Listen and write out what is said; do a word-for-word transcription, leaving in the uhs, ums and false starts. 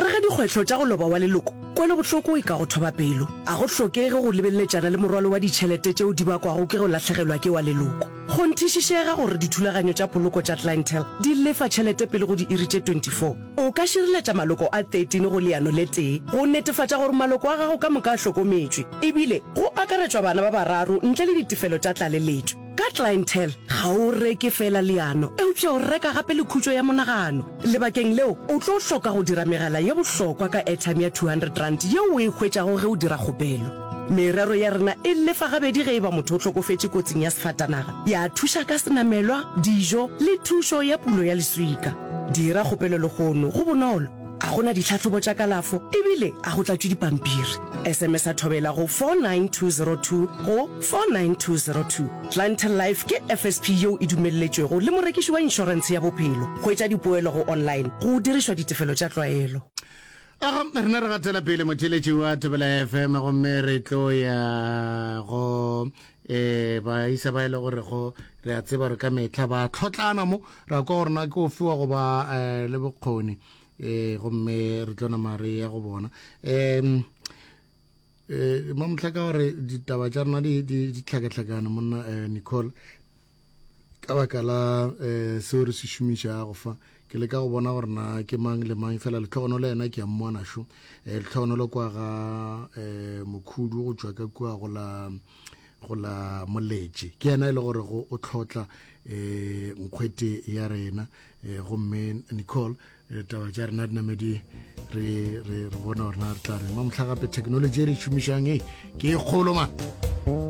Gare ga dikgwetlho tša go loba wa leloko, kwelobohloko e ka go thoba pelo. A go hlokege go lebeleletšana le morwalo wa ditšhelete tšeo di bakwago ke go lahlegelwa ke wa leloko. Kgonthišišega gore dithulaganyo tša poloko tša Clientele di lefa tšhelete pele go diiri tše twenty four. O ka šireletša maloko a thirteen go leano le tee go netefatša gore maloko a gago ka moka a hlokometšwe, ebile go akaretšwa bana ba bararo ntle le ditefelo tša tlaleletšo. Ka Clientele, ga o reke feela leano, eupša o reka gape le khutšo ya monagano. Lebakeng leo, o tlo hloka go dira megala ye bohlokwa ka airtime ya two hundred rand yeo o e hwetšago ge o dira kgopelo. Merero ya rena e lefa gabedi ge e ba motho o hlokofetše kotsing ya sefatanaga, ya thuša ka senamelwa, dijo le thušo ya pulo ya leswika. Dira kgopelo lehono, go bonolo, a go na ditlhahlobo tša kalafo ebile a go tlatšwe dipampiri. S M S a Thobela go four nine two zero two go four nine two zero two. Clientele Life ke F S P yeo e dumelletšwego le morekiši wa inšorentshe ya bophelo. Hwetša dipoelo go online go dirišwa ditefelo tša tlwaelo. Aga rena re gatela pele, motheletši wa Thobela F M, gomme re tlo ya go um baisa ba e le gore go re a tseba re ka metlha ba tlhotlana mo ra kwa gore na ke o fiwa go ba um le bokgoni um gomme re tlo nama re ya go bona um um mamotlha ka gore ditaba tša rena di di tlhakatlhakane, monna um Nicole, ka baka la um seo re se šomišago fa. Ke leka go bona gore na ke mang le mang, fela Letlhogonolo yena ke a mmona šo. um Letlhogonolo kwa ga um Mokhudu go tšwa ka kua go la go la Moletše, ke yena e le gore go o tlhotla um nkgwete ya rena. um gomme Nicole, taba tša rena di name di re re re bona gore na re tla reng mamotlha. Gape technology e re šomišang e ke e kgolo man.